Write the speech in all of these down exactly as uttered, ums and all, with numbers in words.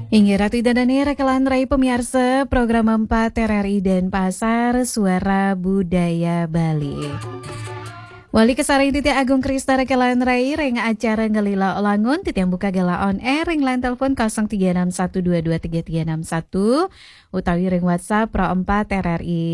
Inggih Ratu Ida Dani, rekan rai pemiarsa program empat R R I Denpasar, Suara Budaya Bali. Wali kasareng titiang Agung Krista rekan rai ring acara Ngelila Olangun, titiang buka galah on air ring line telepon kosong tiga enam satu dua dua tiga tiga enam satu, utawi ring WhatsApp Pro empat R R I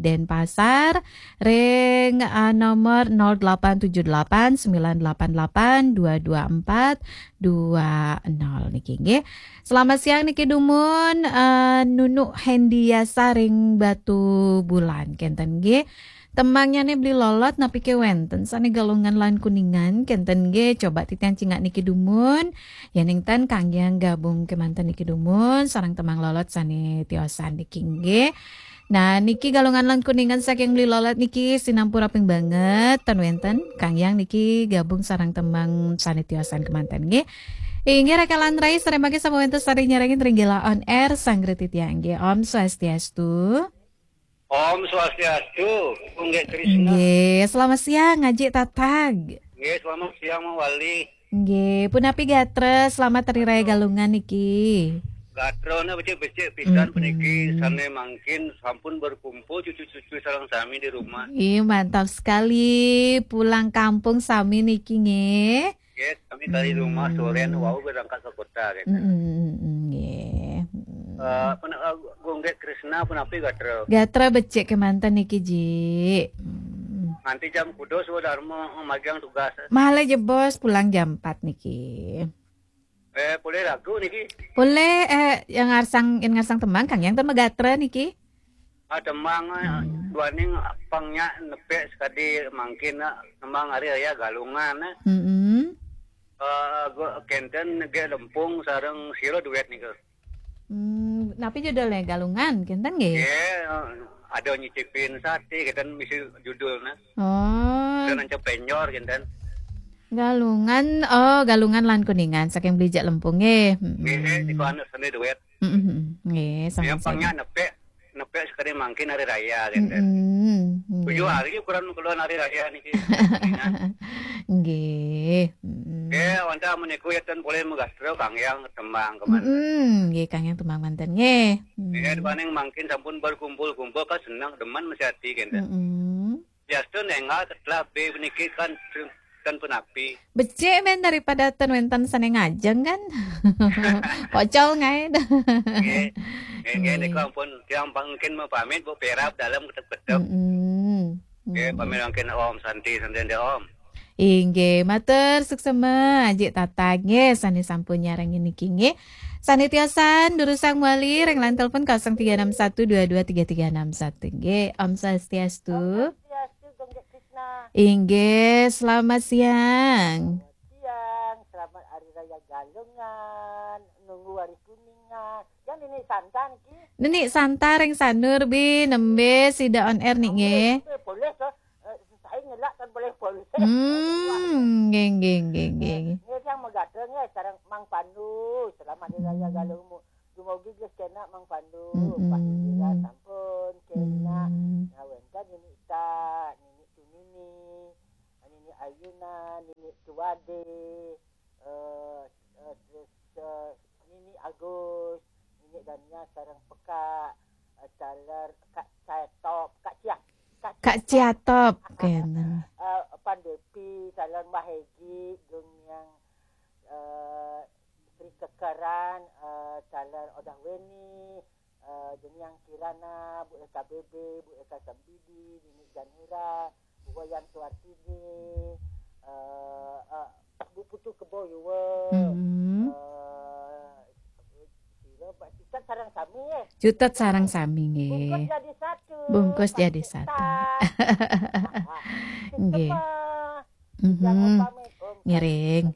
Denpasar ring, eh, nomor nol delapan tujuh delapan sembilan delapan delapan dua dua empat dua nol niki nggih. Selamat siang niki dumun, eh, Nunu Hendiasa ring Batubulan kenten nggih. Temangnyane Beli Lolot napi ke wenten sane Galungan lan Kuningan kenten nggih. Coba titiang cingak niki dumun. Yening ten kanggiang gabung kemanten niki dumun sareng temang Lolot sane tiosan niki nggih. Nah, niki Galungan lan Kuningan saking Beli Lolot niki sinampura ping banget ten wenten kanggiang niki gabung sareng temang sane tiosan kemanten nggih. Inggih rekan rai, sareng mangke sampun wenten sane nyarengin ring Gela on Air sang titiang nggih. Om Swastiastu. Om Swastiastu, Gung Gek Krishna. Nggih, selamat siang, Ajik Tatag. Nggih, selamat siang, Mang Wali. Nggih, punapi gatra, selamat Hari Raya Galungan niki. Gatrane becik-becik pisan Mm-mm. puniki, sane mangkin sampun berkumpul cucu-cucu sareng sami di rumah. Ih, mantap sekali. Pulang kampung sami niki nggih. Nggih, kami kali rumah sorean wau berangkat ke kota, gitu. Mm-mm, mm-mm, nggih. Mm-mm. Eh, pun, eh, Gung Gek Krishna punapi gatra? Gatra becik kemanten niki, Ji. Mm. Nganti jam kuda Swadarma magang tugas. Malah jebos pulang jam empat niki. Eh, boleh lagu niki? Boleh, eh, yang ngarsang, yang ngarsang temang, kanggiang ten magatra niki. Ah, temang, eh, Hmm. duaning pang nya nepek sekadi mangkin, eh, temang Hari Raya Galungan, eh. Mm-mm. Eh, go-, kenten Gek Lempung sareng sira duet nika. Hmm, napi judulnya? Galungan, kenten nggih? Nggih, eh, ada nyicipin sate, kenten misi judulnya. Oh. Ada nancep penjor, kenten. Galungan, oh, Galungan lan Kuningan, saking Beli Gek Lempung nggih. Mm-mm. Nggih, niku anu seni duet. Mm-mm. Nggih, sami-sami. Yang pang nya nepek, nepek sekali mangkin Hari Raya, kenten. Mm-mm. Tujuh Nggih. hari ukuran keluar Hari Raya niki. Nggih. Mm-mm. Nggih, wantah meniku ya ten boleh magatra kanggiang temang kemanten. Mm-mm. Nggih, kanggiang temang manten nggih. Nggih, Mm. duaning mangkin sampun berkumpul-kumpul kan senang demen mesti hati, kenten. Mm-mm. Biasa nengah setelah B niki kan ten punapi. Becik men daripada ten wenten sane ngajeng kan. Pocol ngae. Nggih. Nggih, nggih, Nggih. niku ampun tiang mangkin mapamit Bu Perap dalam ketep-ketep. Mm-mm. Nggih, Mm. pamit mangkin Om Santi, Santi Om. Inggih, matur suksema Ajik Tatag nggih sane sampun nyarengin niki nggih. Sane tiosan durusang wali ring line telepon kosong tiga enam satu dua dua tiga tiga enam satu nggih. Om Swastiastu. Om Swastiastu, Gung Gek Krishna. Inggih, selamat siang. Selamat siang, selamat Hari Raya Galungan, nunggu Hari Kuningan. Yang Nini Santa niki. Nini Santa ring Sanur bi, nembe sida on air nih nggih. Boleh, boleh, eh, saya ngelak kan boleh, boleh. Hmm, nggih, nggih, nggih, nggih. Nggih, yang magatra nggih, sareng Mang Pandu. Selamat Hari Raya Hmm. Galungan. Dumugi nggih kena Mang Pandu, Mm-mm. Pak Indira sampun kena. Hmm. Nah, wenten Nini Ta, Nini Tunini, Nini Ayuna, Nini Tuade, eh, eh, terus, eh, Nini Agus, Nini Dania sareng Pekak, eh, taler Kak Ciatop, Kak Ciah. Kak Ciatop, kenten. Eh, Pan Depi, taler Mbah Hegi, Gung Niang, eh, Sri Kekeran, eh, taler Odah Weni, eh, Gung Niang Kirana, Bu Eka Bebe, Bu Eka Sambidi, Nini Janura, Bu Wayan Suartini, eh, eh, Bu Putu Kebo Yuwa, Mm-mm. eh, sira Pak Cutet sareng sami, eh. Cutet sareng sami, nggih. Bungkus jadi satu. Bungkus jadi satu. Nggih. Jangan pamit, Om. Ngiring.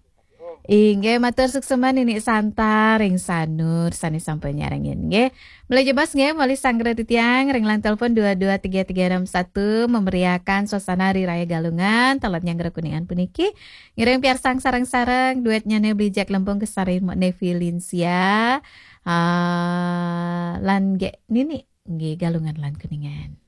Inggih, matur suksema Nini Santa ring Sanur sane sampun nyarengin nggih. Mulai jebos nggih, malih sanggra titiang ring line telepon dua dua tiga tiga enam satu memeriahkan suasana Hari Raya Galungan, taler nyanggra Kuningan puniki. Ngiring piarsang sareng-sareng duetnyane Beli Gek Lempung kasarengin Mbok Nevi Linsia. Ah, lan Gek Nini nggih Galungan lan Kuningan.